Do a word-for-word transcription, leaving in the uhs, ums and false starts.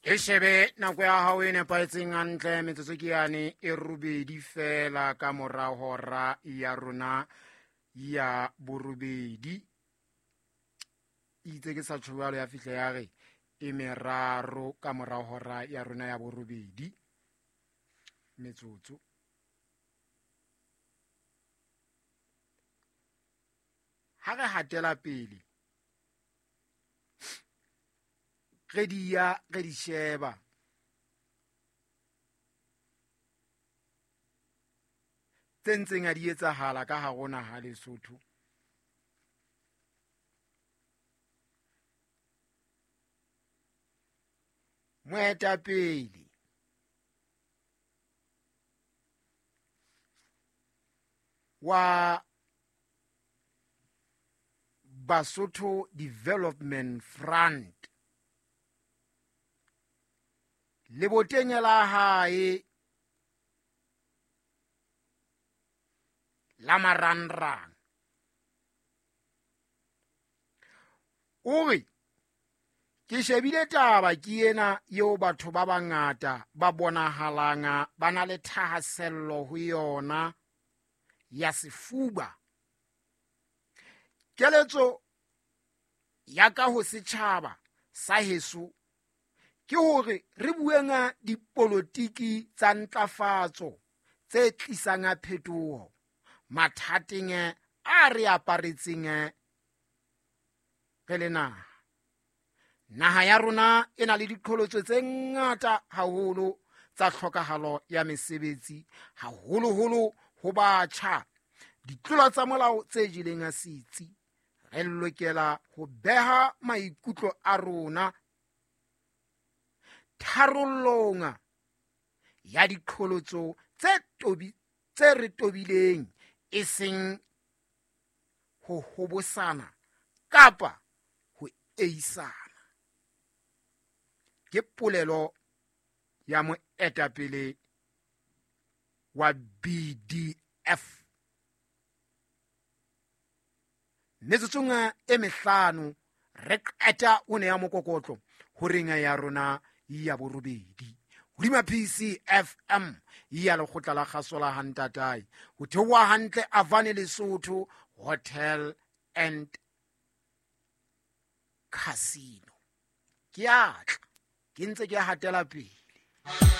Ke shebe nako ya hao e nepahetseng hantle, metsotso ke yane e robedi fela ka mora hora ya rona ya borobedi. Itse ke sa tjho jwalo ya fihla ya re e meraro ka mora hora ya rona ya borobedi metsotso. Ha re hatela pele re di ya re di sheba tse ntseng a di etsahala ka hare ho naha Lesotho. Moetapele wa Basotho Development Front leboteng la hae la marangrang o re ke shebile taba ke ena eo batho ba bangata ba bonahalang ba na le thahasello ho yona ya sefuba. Keletso ya ka ho setjhaba sa heso ke hore re bueng dipolotiki tsa ntlafatso tse tlisang phetoho mathateng a re aparetseng re le naha. Naha ya rona e na le diqholotso tse ngata haholo tsa tlhokahalo ya mesebetsi, haholoholo ho batjha, ditlolo tsa molao tse jeleng setsi. Re lokela ho beha maikutlo a rona tharollong ya diqholotso tse tobi tse re tobileng, e seng ho hobosana kapa ho eisana. Ke polelo ya moetapele wa B D F. Metsotsong e mehlano re qeta o ne ya mokokotlo horeng ya rona ya borobedi hodima P C F M ya lekgotla la kgaso la Hantatae ho theoha hantle Avane Lesotho Hotel and Casino. Ke a tla ke ntse ke hatela pele.